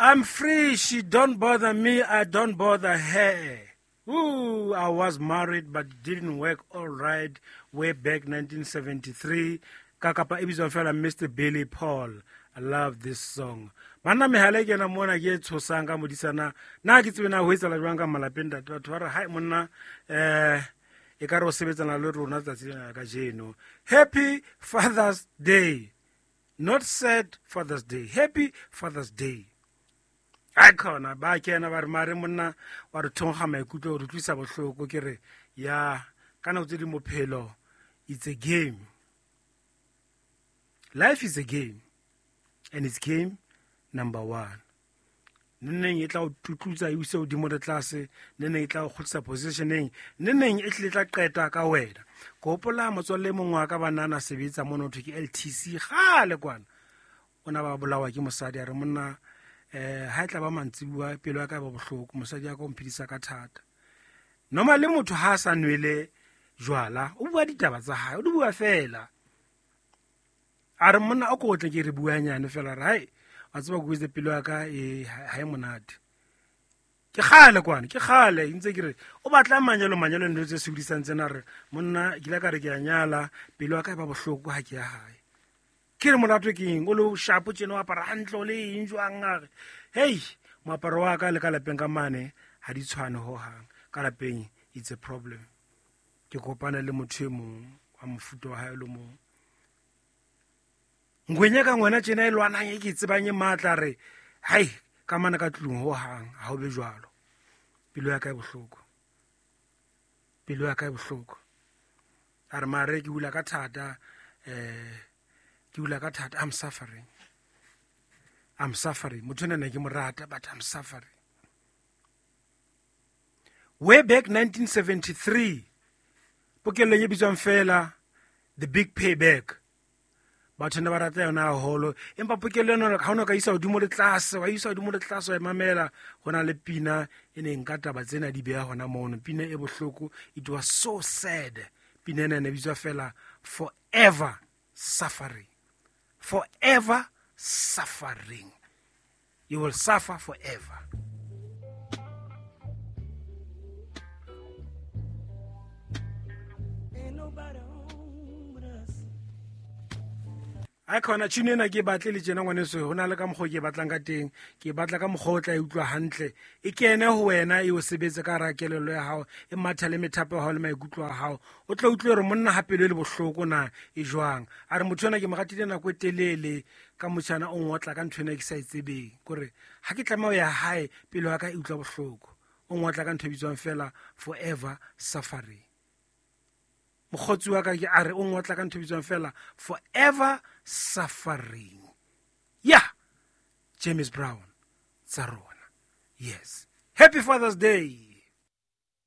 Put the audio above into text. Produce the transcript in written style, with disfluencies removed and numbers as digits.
I'm free. She don't bother me. I don't bother her. Ooh, I was married but didn't work all right way back 1973. Ka kapa e bitswang fela Mr. Billy Paul. I love this song. Banna mehala e kena mona ke e tshosang ka modisana. Na ke tsebe na ho etsahala jwang ka malapeng ntate batho ba re hai monna e ka re o sebetsana le rona tsatsi lena la kajeno. Happy Father's Day. Not sad Father's Day. Happy Father's Day. Ai khona ba kena ba re mare monna wa re thonkga maikutlo re utlwisa bohloko ke re ya ka nako tse di mophelo it's a game. Life is a game and it's game number one. Neneng e tla o tutlutsa e use hodimo le tlase, neneng e tla o kgutlisa positioneng, neneng e tlile tla qeta ka wena. Ke hopola motswalle e mongwe wa ka banana sebetsa mono ho thwe ke LTC kgale kwana. O na ba bolawa ke mosadi a re monna ha e tla ba mantsibuwa pelo ya ka e ba bohloko, mosadi ya ka o mphedisa ka thata. Normally motho ha a sa nwele jwala, o bua ditaba tsa hae, o di bua fela. A re monna o ko tle ke re bua nyane fela re hai wa tseba ko itse pelo ya ka e ha e monate. Ke kgale kwana, ke kgale ntse ke re o batla manyalo manyalo ntho tse sokodisang tsena re monna ke ile ka re ke a nyala pelo ya ka e ba bohloko ha ke ya hae. Ke re molato ke eng o le shapo tjena o apara hantle o le eng jwang a re hei moaparo wa ka le ka lapeng ka mane ha di tshwane hohang ka lapeng it's a problem. Ke kopane le motho e mong wa mofuta wa hae le mong. Ngwenya ka ngwana tjena e lwanang e ke tsebang e matla re hai ka mana ka tlung hohang ha ho be jwalo. Pelo ya ka e bohloko. Pelo ya ka e bohloko. A re mare ke hula ka thata ke hula ka thata I'm suffering. I'm suffering. Motho ena ne ke mo rata but I'm suffering. Way back 1973 pokellong e bitswang fela The Big Payback. Batho ne ba rata yona haholo empa pokello ena ha o no ka isa hodimo le tlase wa isa hodimo le tlase wa e mamela ho na le pina e neng ka taba tsena di beha hona mono pina e bohloko it was so sad pina ena ne bitswa fela Forever Suffering. Forever Suffering. You will suffer forever. Ain't nobody home but us. Ai khona tshino ena ke batle le tjena ngwaneso ho na le ka mokgwa o ke batlang ka teng ke batla ka mokgwa o tla e utlwa hantle e kene ho wena e o sebetse ka hara kelello ya hao e matha le methapo ya hao le maikutlo a hao o tla utlwe hore monna ha pelo e le bohloko na e jwang a re motho ena ke mo ratile nako e telele ka motjhana o ngotla ka ntho ena e ke sa e tsebeng kore ha ke tlameha ho ya hae pelo ya ka e utlwa bohloko o ngotla ka ntho e bitswang fela forever suffering. Mokgotsi wa ka ke a re o ngotla ka ntho e bitswang fela forever suffering. Yeah, James Brown tsa rona. Yes. Happy Father's Day.